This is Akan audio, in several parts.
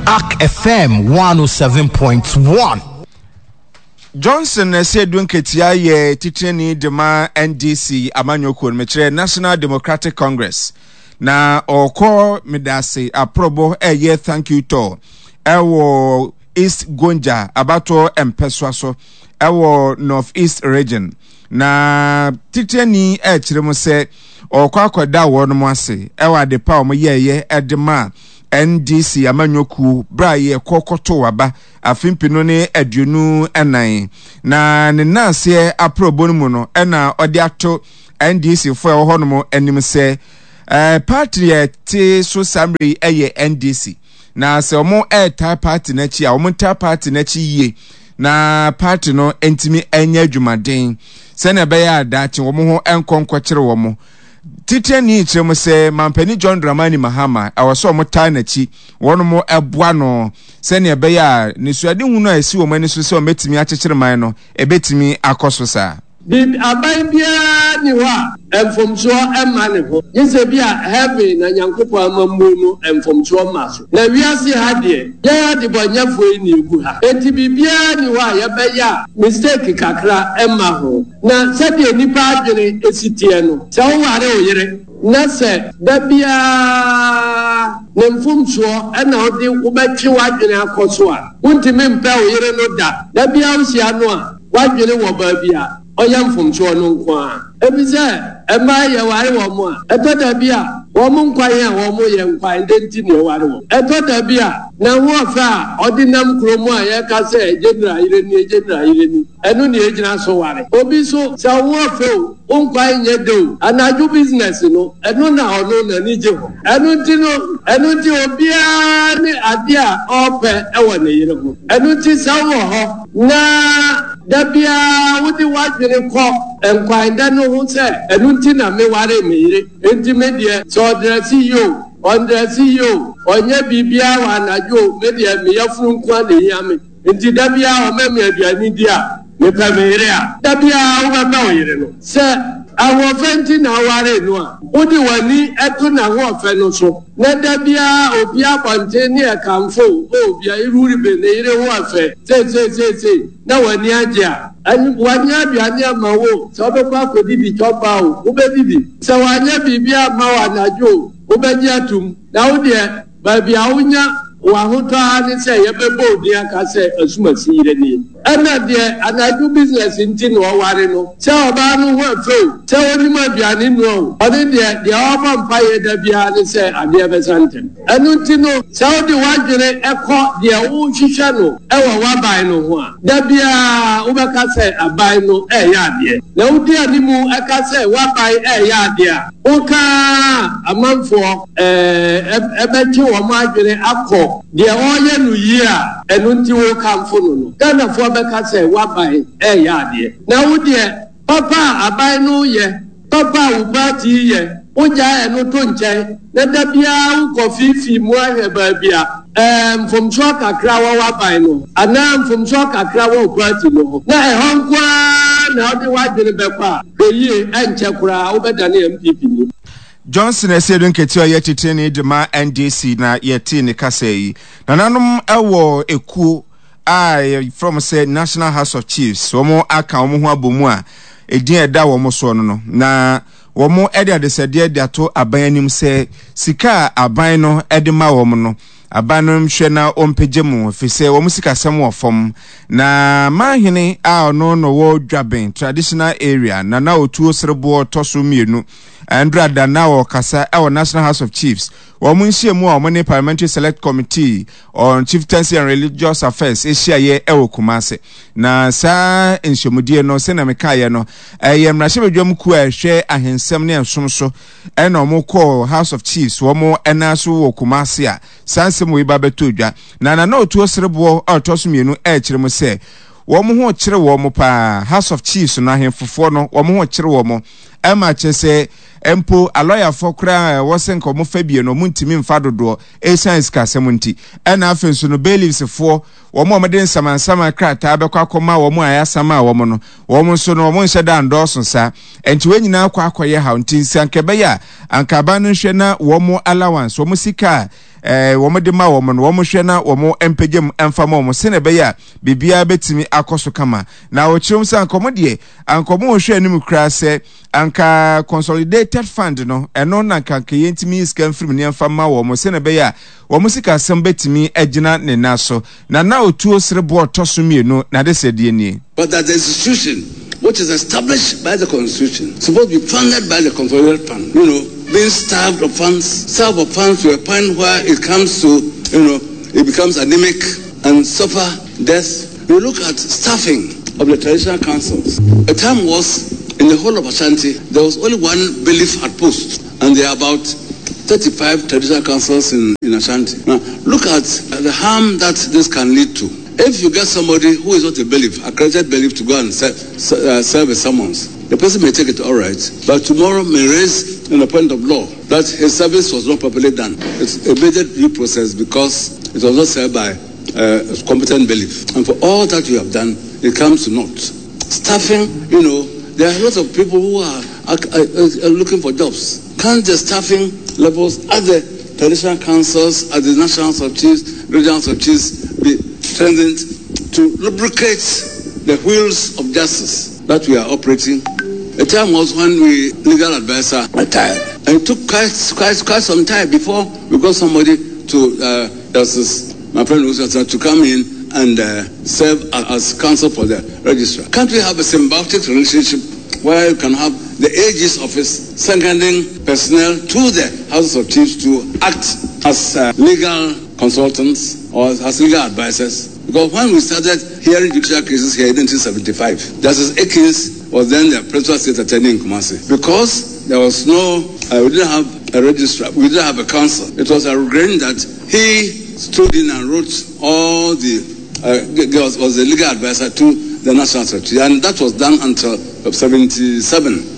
Ark FM 107.1. Johnson Asiedu Nketia yɛ titenani de ma NDC amanyɔkuo no, mekyerɛ National Democratic Congress, na ɔkɔ medase aprɔbɔ ɛyɛ thank you tour ɛwɔ East Gonja abatoɔ mpɛsoa so ɛwɔ North East Region. Na titenani ɛkyerɛ mu sɛ ɔkɔ akɔda wɔn ase ɛwɔ adepa a wɔn yɛɛyɛ ɛde ma NDC amanyɔkuo berɛ a yɛkɔ kɔto aba afe mpenu ne 24, na ne nnanseɛ aprɔbɔ no mu no na ɔde ato NDC foɔ a ɛwɔ hɔnom anim sɛ eh, party a ɛte so saa mmerɛ yi yɛ NDC, na sɛ wɔn ɛretaa party no akyi a wɔn ntaa party no akyi yie na party no ntumi nyɛ adwumaden sɛnea ɛbɛyɛ a daakye wɔn ho nkɔ nkɔkyere wɔn. Titenani kyerɛ mu sɛ Mampanin John Dramani Mahama ɛwɔ sɛ wɔn taa n'akyi, wɔn boa no sɛnea ɛbɛyɛ a nisuadehunu a esi wɔn ani so sɛ wɔbɛtumi akyekyere man no, ɛbɛtumi akɔ so saa. Biribi, aban biara nni hɔ a mfomsoɔ mma ne ho, gye sɛ bi a heaven na Nyankopɔn amammuo no mfomsoɔ mma so. Na wiase ha deɛ, yɛn adebɔnyɛfoɔ yi na ɛgu ha, enti biribiara nni hɔ a yɛbɛyɛ a mistake kakra mma ho. Na sɛdeɛ nnipa adwene si teɛ no, sɛ woware wo yere na sɛ da biara ne mfomsoɔ na wode wobɛtwe w'adwene akɔ so a, wontumi mpɛ wo yere no da. Da biara wohyia no a, w'adwene wɔ baabi a ɔyɛ mfomsoɔ no nko ara. Ɛfiri sɛ mmaa yɛware wɔn a, ɛtɔ da bi a wɔn nkwan a wɔyɛ nkwan dɛn nti na yɛware wɔn? Ɛtɔ da bi a n'ahoɔfɛ a ɔde nam kurom a yɛka sɛ General yere nie, General yere ni. Ɛno na yɛgyina so ware. Obi nso, sɛ wo ho ɔfɛ o, wo nkwa nyɛ dɛ o, anadwo business no, ɛno na ɔno n'ani gye ho. Ɛno nti no, ɛno nti obiara ne adeɛ a ɔrepɛ wɔ ne yere ho. Ɛno nti sɛ wowɔ hɔ na da biara wode w'adwene kɔ nkwan dɛ no ho sɛ, ɛno nti na mewaree me yere, enti me deɛ sɛ ɔdrɛse yie o, ɔndrɛse yie o, ɔnyɛ biribiara wɔ anadwo o, me deɛ me yafunu nko ara na ɛhia me. Enti da biara ɔma me aduane di a, mepɛ me yere a. Da biara wobɛpɛ wo yere no. Sɛ ahoɔfɛ nti na wowaree no a, wode w'ani to n'ahoɔfɛ no so, na da biara opue abɔnten ne ɛkamfo wo, O, bia Iruribe, ne yere ho ɔfɛ, seisei seisei, na w'ani agye a. Wanyɛ aduane amma wo o, sɛ wobɛkɔ akɔdidi chop-bar o, wobɛdidi. Sɛ wanyɛ biribi amma wo anadwo o, wobɛgye atom. Na wo deɛ, Baabi a wonya w'ahotɔ ara ne sɛ yɛbɛbɔ wo din aka sɛ Asumasi yere nie. Ɛna deɛ anadwo business nti na ɔware no. Sɛ ɔbaa no ho ɛfɛ o, sɛ ɔnim aduane noa o, ɔno deɛ, deɛ ɔbɔ mpaeɛ da biara ne sɛ adeɛ bɛsa ntɛm. Ɛno nti no, sɛ wode w'adwene kɔ deɛ worehwehwɛ no wɔ w'aban no ho a, da biara wobɛka sɛ aban no reyɛ adeɛ. Na wodi animu ka sɛ w'aban reyɛ adeɛ a, woka ara a amanfoɔ bɛtwe wɔn adwene akɔ deɛ ɔreyɛ no yie a ɛno nti worekamfo no no. Ghanafoɔ bɛka sɛ w'aban reyɛ adeɛ. Na wo deɛ papa a aban no reyɛ, papa a wo party reyɛ, wogyae ɛno to nkyɛn na da biara wokɔ fiifii mu ahwɛ baabi a mfomsoɔ kakra wɔ w'aban no ho anaa mfomsoɔ kakra wɔ wo party no ho na ɛhɔ nko ara na wode w'adwene bɛkɔ a, hwɛ yie, ɛnkyɛ koraa wobɛdane NPP ni. Johnson Asiedu Nketia a ɔyɛ titenani de ma NDC na yɛtee ne kasa yi. Nananom wɔ ekuo a yɛfrɛ wɔn sɛ National House of Chiefs, wɔn aka wɔn ho abɔ mu a edin a ɛda wɔn soɔ no no, na wɔn de adesɛdeɛ de ato aban anim sɛ sika a aban no de ma wɔn no, aban no nhwɛ na wɔmpagya mu ɛfiri sɛ wɔn sikasɛm wɔ fam. Na manhene a ɔno na ɔwɔ Dwaben Traditional Area, Nana Otuo Sereboɔ tɔ so mmienu, Andra da na ɔrekasa wɔ National House of Chiefs wɔn nhyiamu a wɔn ne Parliamentary Select Committee on Chieftaincy and Religious Affairs hyiaeɛ wɔ Kumasi. Na saa nhyiamudie no, sɛnea mekaeɛ no, ɛyɛ mmarahyɛbadwam kuo a ɛhwɛ ahensɛm ne ɛsom so ɛna wɔn kɔɔ House of Chiefs wɔn nan so wɔ Kumasi a saa nsɛm wei ba bɛtɔ dwa. Na Nana Otuo Sereboɔ a ɔtɔ so mmienu ɛrekyerɛ mu sɛ wɔn ho kyere wɔn paa, House of Chiefs no ahemfofoɔ no wɔn ho kyere wɔn Ɛma kyerɛ sɛ mpo alɔyafoɔ koraa a ɛwɔ sɛ nka wɔfa bie no, wɔntumi mfa dodoɔ ɛsiane sikasɛm nti. Ɛna afei nso no, bailiffsfoɔ, wɔn a wɔde nsamansaman krataa bɛkɔ akɔma wɔn a yɛasama wɔn no, wɔn nso no, wɔn nhyɛ da ndɔɔso saa. Ɛnti wɔn nyinaa kɔ akɔyɛ haw. Nti sɛ anka ɛbɛyɛ a, anka aban no nhwɛ na wɔn allowance, wɔn sika a eh, wɔn de ma wɔn no, wɔn hwɛ na wɔn mpagya mu mfa ma wɔn sɛnea ɛbɛyɛ a biribiara bɛtumi akɔ so kama. Na wɔkyerɛ mu sɛ anka wɔn deɛ, anka wɔn rehwɛ anim koraa sɛ anka consolidated fund no, ɛno na anka anka yɛntumi yi sika mfiri mu ne yɛmfa ma wɔn sɛnea ɛbɛyɛ a wɔn sikasɛm bɛtumi agyina ne nan so. Na na otuo sereboɔ ɔtɔ so mmienu n'adesrɛdeɛ nie. But that the institution which is established by the constitution supposed to be funded by the consolidated fund, you know, being starved of funds, starved of funds to a point where it comes to, you know, it becomes anemic and suffer death. You look at staffing of the traditional councils. A time was in the whole of Ashanti, there was only one bailiff at post, and there are about 35 traditional councils in, in Ashanti. Now, look at the harm that this can lead to. If you get somebody who is not a bailiff, accredited bailiff, to go and serve, serve a summons, the person may take it all right, but tomorrow may raise in the point of law that his service was not properly done. It's a major due process because it was not served by uh, competent bailiff. And for all that you have done, it comes to naught. Staffing, you know, there are a lot of people who are, are, are, are looking for jobs. Can't the staffing levels at the traditional councils, at the national of chiefs, regional of chiefs be strengthened to lubricate the wheels of justice that we are operating? A time was when we legal advisor retired. And it took quite, quite, quite some time before we got somebody to, uh, Justice, my friend Usata, to come in and uh, serve as counsel for the registrar. Can't we have a symbiotic relationship where you can have the AG's office seconding personnel to the House of Chiefs to act as uh, legal consultants or as legal advisors? Because when we started hearing judicial cases here in 1975, Justice Akins was then the principal state attorney in Kumasi. Because there was no, uh, we didn't have a registrar, we didn't have a council. It was a regret that he stood in and wrote all the, uh, was, was the legal advisor to the National Secretary, and that was done until 77.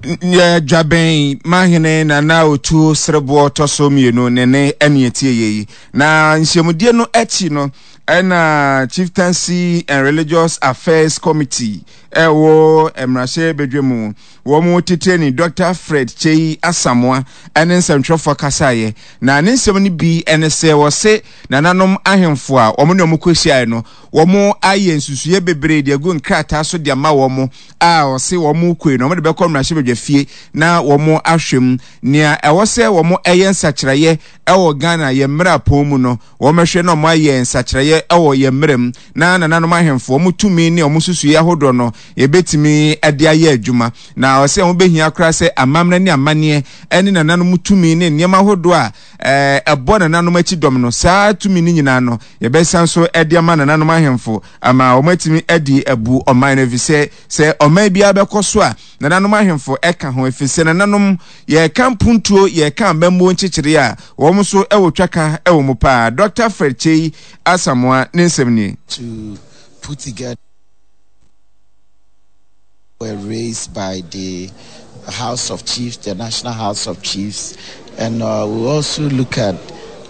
Dwabɛn mahene Nana Otuo Sereboɔ tɔ so mmienu ne ne ɛne ɛtie yɛ yi. Na nhyiamudie no akyi no, ɛna Chieftaincy and Religious Affairs Committee ɛwɔ mmarahyɛ badwa mu wɔn titenani Dr. Fred Kyei Asamoah ɛne nsɛntwerɛfoɔ kasaeɛ. Na ne nsɛm no bi ɛne sɛ wɔse nananom ahemfo a wɔn ne wɔn kɔhyiaeɛ no wɔn ayɛ nsusuiɛ bebree de agu nkrataa so de ama wɔn a wɔse wɔn kɔe no wɔn de bɛkɔ mmarahyɛ badwa fie na wɔn ahwɛ mu nea ɛwɔ sɛ wɔn ɛyɛ nsakyeraeɛ ɛwɔ Ghana yɛn mmara pɔn mu no, wɔbɛhwɛ na wɔayɛ nsakyeraeɛ ɛwɔ yɛn mmara mu, na nananom ahemfo, wɔn tumi ne wɔn nsusuiɛ ahodoɔ no, yɛbɛtumi de ayɛ adwuma. Na ɔsɛ ɛho bɛhia koraa sɛ amammerɛ ne amanneɛ ne nananom tumi ne nneɛma ahodoɔ a ɛbɔ nananom akyi dɔm no, saa tumi no nyinaa no, yɛbɛsan so de ama nananom ahemfo ama wɔatumi adi abu ɔman no, ɛfiri sɛ sɛ ɔman biara bɛkɔ so a, Nananom ahemfo ka ho, efisɛ nananom, yɛreka mpuntuo, yɛreka amammuo nkyekyereɛ a, wɔn nso wɔ twaka wɔ mu paa. Dɔkta Fred Kyei Asamoah ne nsɛm nie. To put together were raised by the House of Chiefs, the National House of Chiefs, and uh, we also look at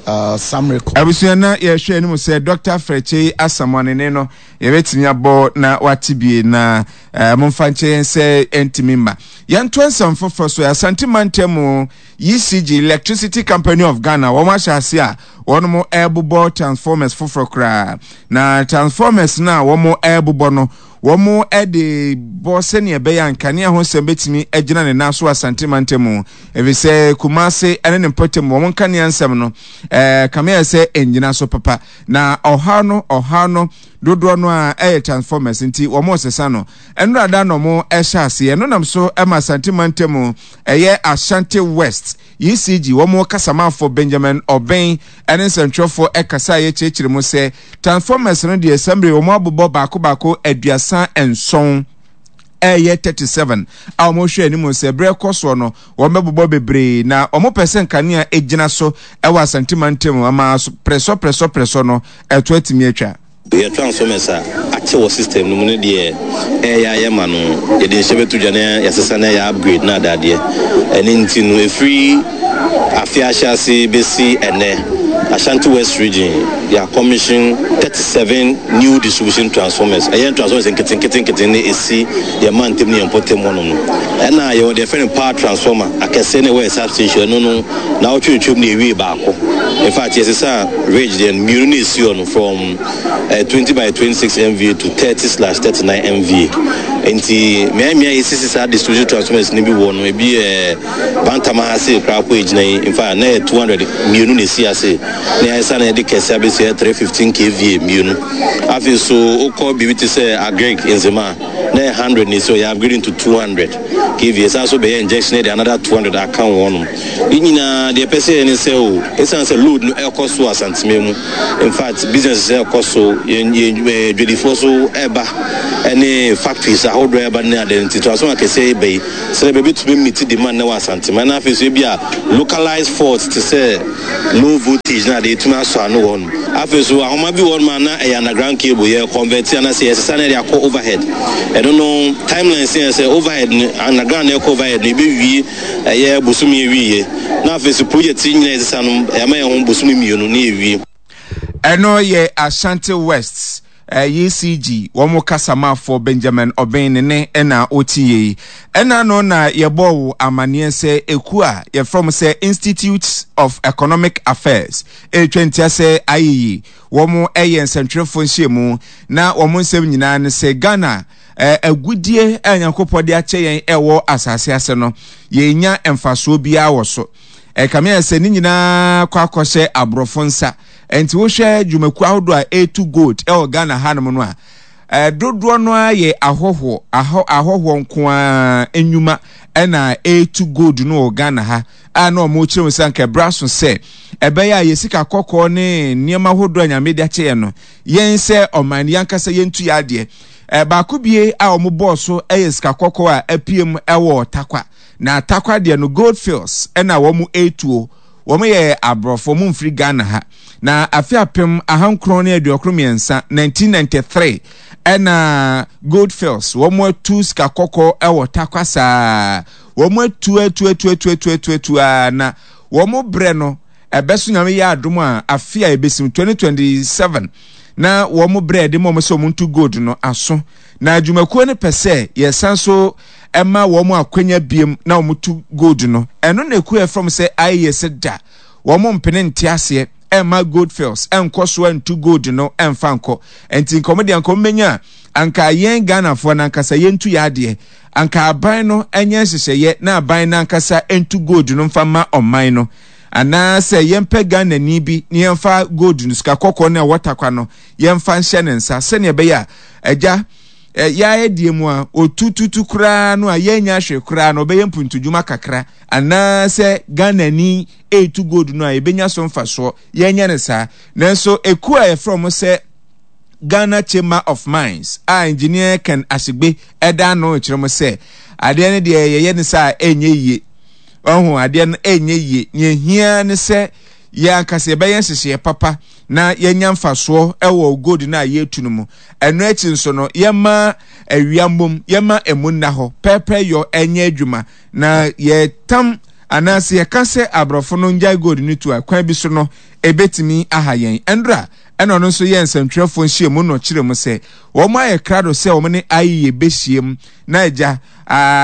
uh, some records. Abusua na yɛhwɛ anim sɛ Dr. Fred Kyei Asamoah ne ne no yɛbɛtumi abɔ na wate bie na eh, momfa nkyɛ yɛn sɛ ɛntumi mma. Yɛntoa nsɛm foforɔ so. Asante mantam mu ECG, Electricity Company of Ghana, wɔn ahyɛ ase a wɔn ɛrebobɔ transformers foforɔ koraa. Na transformers no a wɔn ɛrebobɔ no, wɔn de bɔ sɛnea ɛbɛyɛ a nkanea ho nsɛm bɛtumi agyina ne nan so Asante mantam mu. Efisɛ Kumase ne ne mpɔtam wɔn nkanea nsɛm no, ɛɛ kame ayɛ sɛ ɛngyina so papa. Na ɔhaw no, ɔhaw no dodoɔ no ara ɛyɛ transformers nti wɔn resesa no. Nnora da na wɔn ɛhyɛ aseɛ. Ɛno nam so ma Asante mantam ɛyɛ Ashanti West ECG wɔn kasamanfoɔ Benjamin Obeng ɛne nsɛntwerɛfoɔ ɛkasa a yɛkyerɛkyerɛ mu sɛ transformers no deɛ sɛmbre wɔn abobɔ baako baako 37 ɛyɛ 37 a wɔhwɛ anim sɛ berɛ kɔ soɔ no wɔbɛbobɔ bebree na wɔpɛ sɛ nkanea gyina so wɔ Asante mantam ama prɛsɔ prɛsɔ prɛsɔ no ɛto atumi atwa. Yɛ transformers a akyɛ wɔ system no mu no deɛ ɛyɛ a yɛma no yɛde nhyɛ bɛto dwa na yɛasesa na yɛ upgrade na adadeɛ. Ɛno nti no ɛfiri afe ahyɛase bɛsi ɛnnɛ Ashanti West Region yɛ commission 37 new distribution transformers. Ɛyɛ transformers nketenkete nkete na ɛsi yɛn mantam ne yɛn mpɔtam hɔnom no. Ɛna yɛwɔ deɛ yɛfrɛ no power transformer akɛseɛ na ɛwɔ yɛn substation ɛno no naawɔtwe retwam na yɛwie baako. In fact, yɛsesaa ridge deɛ no mmienu na ɛsi hɔ no from eh, 20 by 26 MVA to 30 slash 39 MVA. Nti mmeammea a yɛsisi saa distribution transformers no bi wɔ no, ebi yɛ Bantama ha sei koraa kɔ egyina yi, in fact na yɛ 200 mmienu na ɛsi ase na yɛasa na yɛde kɛse abɛsi yɛ 315 kVA mmienu. Afei nso wokɔ biribi te sɛ Agric Nzema a, na yɛ 100 na ɛsi hɔ, yɛ upgrading to 200 kVA. Ɛsan so bɛyɛ injection de another 200 aka ho hɔnom. Ne nyinaa deɛ ɛpɛ sɛ yɛ ne sɛ o, ɛsiane sɛ load no ɛrekɔ so wɔ Asanteme mu, in fact businesses ɛrekɔ so, yɛn yɛn ɛɛ dwadifoɔ so ɛreba ɛne factories ahodoɔ ɛreba ne adeɛ nti transformer akɛseɛ yi ba yi sɛdeɛ bɛbɛtumi meet demand na wɔ Asanteme ɛna afei nso ebi a localized faults te sɛ low voltage na adeɛ ɛtumi asɔ ano wɔ hɔnom. Afei nso ahoma bi wɔ hɔnom a na ɛyɛ underground cable yɛ convert anaasɛ yɛsesa na yɛde akɔ overhead. Ɛno no timelines yɛ sɛ overhead no underground na ɛkɔ overhead no yɛbɛwie Ɛyɛ bosome awieɛ na afei so project yi nyinaa yɛsesa no yɛama yɛn ho bosome mmienu na yɛwie. Ɛno yɛ Ashanti West ECG wɔn kasamafoɔ Benjamin Obeng ne ne na ɔte yei. Ɛna no na yɛbɔɔ wo amaneɛ sɛ ekuo a yɛfrɛ wɔn sɛ Institute of Economic Affairs ɛretwa ntia sɛ ayeyi wɔn yɛ nsɛntwerɛfoɔ nhyiamu na wɔn nsɛm nyinaa ne sɛ Ghana Agudeɛ a Nyankopɔn de akyɛ yɛn ɛwɔ asase ase no, yɛnnya mfasoɔ biara wɔ so. Ɛkame ayɛ sɛ ne nyinaa kɔ akɔhyɛ aborɔfo nsa. Ɛnti wohwɛ dwumakuo ahodoɔ a ɛretu gold ɛwɔ Ghana hanom no a, dodoɔ no ara yɛ ahɔhoɔ, ahɔhoɔ nko ara nnwuma ɛna ɛretu gold no wɔ Ghana ha a na wɔn kyerɛ mu sɛ anka ɛberɛ aso sɛ ɛbɛyɛ a yɛ sika kɔkɔɔ ne nneɛma ahodoɔ a Nyame de akyɛ yɛn no, yɛn sɛ ɔman no yɛn ankasa yɛntu yɛn adeɛ. Baako bie a wɔn bɔɔ so yɛ sika kɔkɔɔ a apue mu wɔ Tarkwa. Na Tarkwa deɛ no Gold Fields na wɔn retuo. Wɔn yɛ aborɔfo, wɔn mfiri Ghana ha. Na afe 1993, 1993, ɛna Gold Fields wɔn atu sika kɔkɔɔ wɔ Tarkwa saa. Wɔn atu atu atu atu atu atu atu a na wɔn brɛ no ɛbɛso Nyame yɛ adom a afe a ɛbɛsim 2027 na wɔn berɛ ɛde ma wɔn sɛ wɔn ntu gold no aso na adwumakuo no pɛ sɛ yɛsan so ɛma wɔn akwanya biem na wɔn tu gold no ɛno na ekuo ɛfam sɛ ayɛ sɛ da wɔn mpene nte aseɛ ɛma gold fields ɛnkɔ so ɛntu gold no ɛnfa nkɔ ɛnti nkɔmɔ deɛ nkɔmɔ bɛnya anka yɛn Ghanafoɔ no ankasa yɛntu yɛ adeɛ anka aban no ɛnyɛ nhyehyɛeɛ na aban no ankasa ɛntu gold no mfa ma ɔman no Anaasɛ yɛmpɛ Ghanani bi na yɛmfa gold no, sika kɔkɔɔ no a ɛwɔ takwa no, yɛmfa nhyɛ ne nsa sɛnea ɛbɛyɛ a, agya, yɛayɛ deɛ mu a, ɔtututu koraa no a yɛnnya hwee koraa no, ɔbɛyɛ mpuntudwuma kakra. Anaasɛ Ghanani ɛretu gold no a, yɛbɛnya so mfasoɔ. Yɛnyɛ no saa. Nanso ekuo a yɛfrɛ wɔn sɛ Ghana Chamber of Mines a Engineer Ken Ashigbe ɛda ano rekyerɛ mo sɛ adeɛ no deɛ yɛyɛ no saa a ɛnyɛ yie. Wahu, adeɛ no ɛnyɛ yie. Nea ɛhia ne sɛ yɛn ankasa yɛbɛyɛ nhyehyɛeɛ papa na yɛanya mfasoɔ wɔ gold no a yɛretu no mu. Ɛno akyi nso no, yɛma awia mmom, yɛma ɛmu nna hɔ, pɛɛpɛɛ yɔ ɛnyɛ adwuma. Na yɛtam anaasɛ yɛka sɛ aborɔfo no ngyae gold no tu a, kwan bi so no, ɛbɛtumi aha yɛn. Ɛndora ɛna ɔno nso yɛɛ nsɛntwerɛfoɔ nhyiamu na ɔkyerɛ mu sɛ wɔn ayɛ krado sɛ wɔn ne IEA bɛhyiam na agya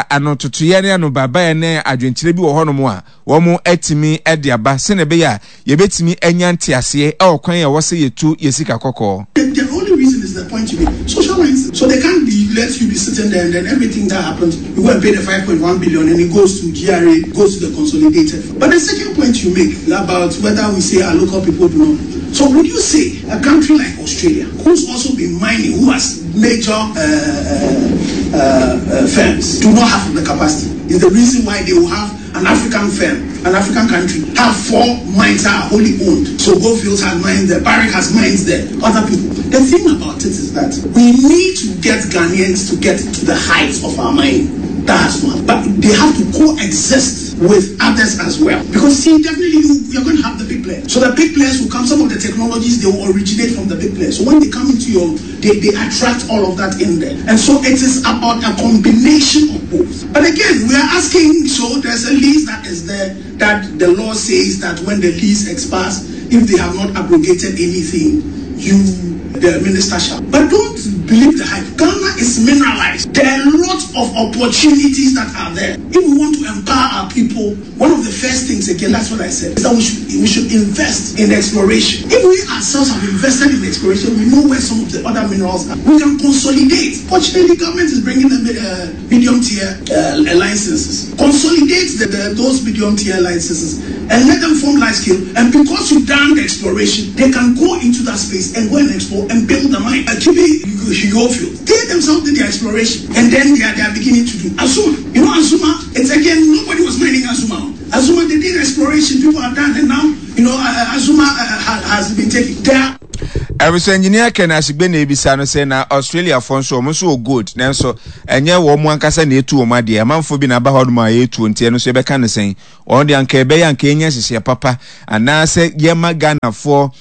anototoeɛ ne anobaebaeɛ ne adwenkyerɛ bi wɔ hɔnom a wɔatumi de aba sɛnea ɛbɛyɛ a yɛbɛtumi anya nteaseɛ wɔ kwan a ɛwɔ sɛ yɛtu yɛn sika kɔkɔɔ. The only reason is the point you made, social lines, so they can't be let you be sitting there and then everything that happens, you go and pay the 5.1 billion and it goes to GRA, goes to the consolidated fund. But the second point you make about whether we say our local people do not, so would you say a country like Australia, who's also been mining, who has major uh, uh, uh, firms do not have the capacity, is the reason why they will have an African firm, an African country, have four mines that are wholly owned. So Goldfields has mines there, Barrick has mines there, other people. The thing about it is that we need to get Ghanaians to get to the heights of our mine. That's one. But they have to coexist with others as well. Because see, definitely you, you're going to have the big players. So the big players will come, some of the technologies, they will originate from the big players. So when they come into your, they, they attract all of that in there. And so it is about a combination of both. But again, we are asking, so there's a lease that is there that the law says that when the lease expires, if they have not abrogated anything, you, the minister shall. But don't believe the hype. Ghana is mineralized. There are lots of opportunities that are there. If we want to empower our people, one of the first things, again, that's what I said, is that we should, we should invest in exploration. If we ourselves have invested in exploration, we know where some of the other minerals are. We can consolidate. Fortunately, government is bringing the uh, medium tier uh, licenses. Consolidate the, the, those medium tier licenses and let them form large scale. And because you've done the exploration, they can go into that space and go and explore and build the mine. Akibi Field. They themselves did the exploration and then they are, they are beginning to do. Azuma, you know Azuma, it's again, nobody was mining Azuma. Azuma, they did exploration, people are done, and now, you know, uh, Azuma uh, has been taken. There Abusua engineer Ken Asigbe na ebisa no sɛ na Australiafoɔ nso wɔn nso wɔ gold nanso ɛnyɛ wɔn ankasa na etu wɔn adeɛ amanfoɔ bi na aba hɔ nom a yɛretuo nti ɛno nso yɛbɛka no sɛn wɔn deɛ anka ɛbɛyɛ anka yɛnya nhyehyɛeɛ papa anaasɛ yɛma Ghanafoɔ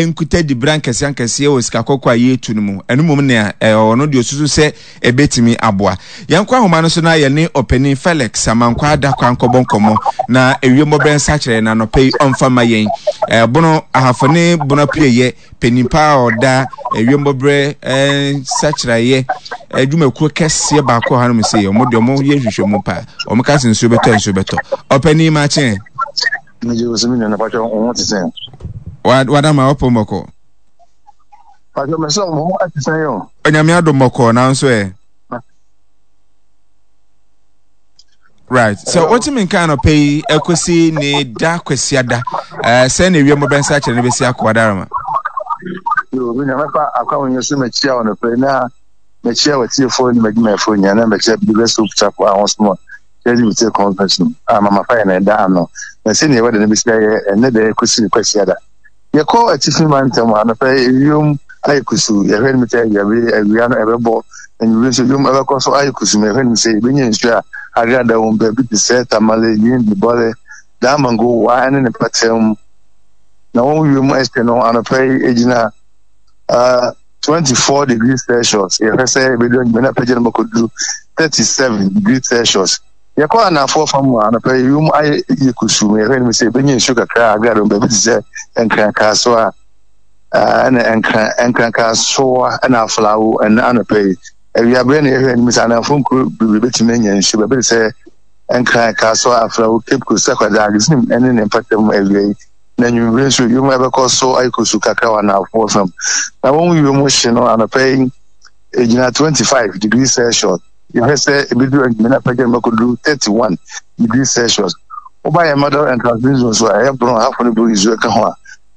nkuta dibra nkɛseɛ nkɛseɛ wɔ sika kɔkɔɔ a yɛretu no mu ɛno mmom nea ɔno deɛ osusu sɛ ɛbɛtumi aboa. Yɛnkɔ ahoma no so na yɛne ɔpanin Felix Amankwaa Adakwa nkɔbɔ nkɔmmɔ na ewiem bɔberɛ nsakyerɛ na anɔpa yi ɔmfa mma yɛn. Bono Ahafo ne Bono Apueeɛ panin paa a ɔda ewiem bɔberɛ nsakyeraeɛ adwumakuo kɛseɛ baako wɔ hanom sei, wɔn deɛ wɔn yɛ nhwehwɛmu paa, wɔn ka sɛ nsuo bɛtɔ nsuo bɛtɔ. Ɔpanin makye. Megye wo so me nua na patwɛ wo ho te sɛn? Wadama ɔpɔ mmɔkɔ. Pastor mɛ sɛ ɔmo ho ɛte sɛn o. Onyame adom bɔkɔɔ nanso ɛ. Right. So wotumi nka anɔpɛ yi ɛkɔsi ne da kwasiada ɛɛ sɛ na ewiem bɛnsa kyerɛ no bɛsi akɔ adarama. Yo, mi na mɛfa akwa wɔn so mɛkyia wɔn anɔpɛ yi na mɛkyia wɔtiefoɔ ne mɛdwumayɛfoɔ nyinaa na mɛkyia Believers Hope Chapel a wɔn so ma yɛde mi tie conference no a mama fa yɛ na ɛda ano na sɛnea ɛwɔ de no bɛsi ayɛ ɛnɛ da ɛkɔsi ne kwasiada. Yɛkɔ atifi mantam a, anɔpa yi ewiem ayɛ kusuu. Yɛhwɛ anim sɛ awia bi awia no ɛbɛbɔ. Anwummere nso ewiem ɛbɛkɔ so ayɛ kusuu. Ma yɛhwɛ anim sɛ yɛbɛnya nsuo a agrada wom baabi te sɛ Tamale, Yendi, Bɔle, Damango, Wa ne ne mpɔtam. Na wɔn wiem ɛhye no anɔpa yi egyina uh, 24 degrees Celsius. Yɛhwɛ sɛ ɛbɛdu anwummere na apagya no makɔduru 37 degrees Celsius. Yɛkɔ anaafoɔ fa mu a, anɔpa yi wim ayɛ yɛ kusuu ma yɛhwɛ anim sɛ yɛbɛnya nsuo kakra a agrado baabi te sɛ Nkrankasoa ɛna Nkran Nkrankasoa ɛna Aflawo ɛna anɔpa yi. Awiaberɛ na yɛhwɛ anim sɛ anaafoɔ nkuro bebree bɛtumi anya nsuo baabi te sɛ Nkran, Kasoa, Aflawo, Cape Coast, Takoradi, Agyesim ɛne ne mpɔtam awia yi. Na anwummerɛ nso wiem ɛbɛkɔ so ayɛ kusuu kakra wɔ anaafoɔ fam. Na wɔn wiem hye no anɔpa yi ɛgyina 25 degrees Celsius. Yɛhwɛ sɛ ebedu anwummere na apagya mu akɔduru 31 degrees Celsius. Woba yɛn Middle and Transmit zone so a, ɛyɛ borɔn, hafo ne boro nsuo ka ho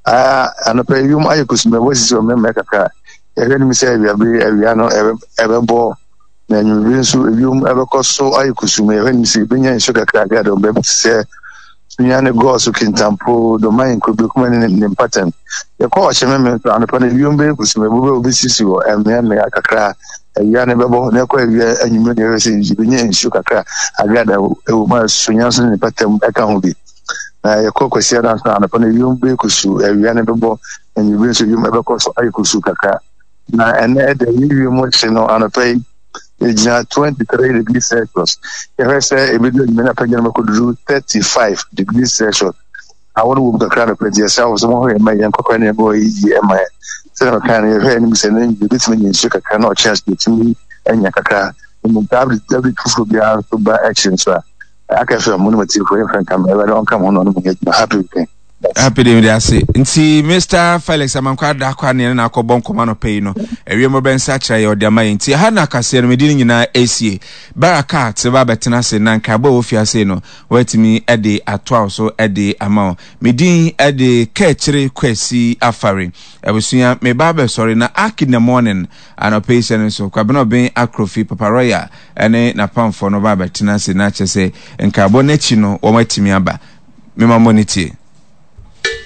a, anɔpa yi wiem ayɛ kusum, ɛbɔ sisi wɔ mmerɛmmerɛ kakra. Yɛhwɛ anim sɛ awiabere awia no ɛbɛbɔ na anwummere nso ewiem ɛbɛkɔ so ayɛ kusum. Yɛhwɛ anim sɛ yɛbɛnya nsuo kakra de baabi te sɛ Sunyani, Goaso, Kintampo, Domain, Kurobekum ne ne mpɔtam. Yɛkɔ Ɔkyememe nso anɔpa no ewiem bɛyɛ kusum, ɛbo bɛ obesisi wɔ mmeammea kakra. Awia no bɛbɔ na ɛkɔ awia anwummerɛ na yɛhwɛ sɛ yɛbɛnya nsuo kakra agrada ɛwɔ mu a Sunya nso ne ne mpɔtam ɛka ho bi. Na yɛkɔ Kwasiada nso anɔpa no ewiem bɛyɛ kusuu, awia no bɛbɔ anwummerɛ nso ewiem ɛbɛkɔ so ayɛ kusuu kakra. Na ɛnɛ ɛda yi wiem hye no anɔpa yi ɛgyina 23 degrees Celsius. Yɛhwɛ sɛ ɛbɛdu anwummerɛ no apagya no bɛkɔduru 35 degrees Celsius. Awɔ no wɔ mu kakra anɔpa nti yɛsrɛ wo sɛ mohwɛ yɛn ma yɛn nkɔkora ne ɛbɛwɔ yi yie ɛma yɛn. Sɛdeɛ mekae no yɛhwɛ anim sɛ na yɛbɛtumi anya nsuo kakra na ɔkyena so yɛtumi anya kakra. Mmom saa update foforɔ biara nso ba akyiri nso a aka fm mo ne matiefoɔ yɛmfa nka ma Awurade ɔnka mo ho na ɔne mo nyɛ adwuma. Happy weekend. Happy day mede ase nti Mr Felix Amankwa Adakwa ne na akɔbɔ nkɔmɔ anɔpa yi no awie mo bɛnsa kyerɛ yɛ ɔde ama yɛn nti ha na akaseɛ no mede no nyinaa ɛsie Barakat ba bɛtena ase na nkaebɔ a ɛwɔ fiase no wɔatumi de atoa wo so de ama wo me din de Kaakyire Kwasi Afare abusua me ba bɛsɔre na Ark in the morning anɔpa yi hyɛ no nso Kwabena Ɔben Akrofi Papa Royal ne n'apamfoɔ no ba bɛtena ase na kyerɛ sɛ nkaebɔ no akyi no wɔn atumi aba mema mo ne tie.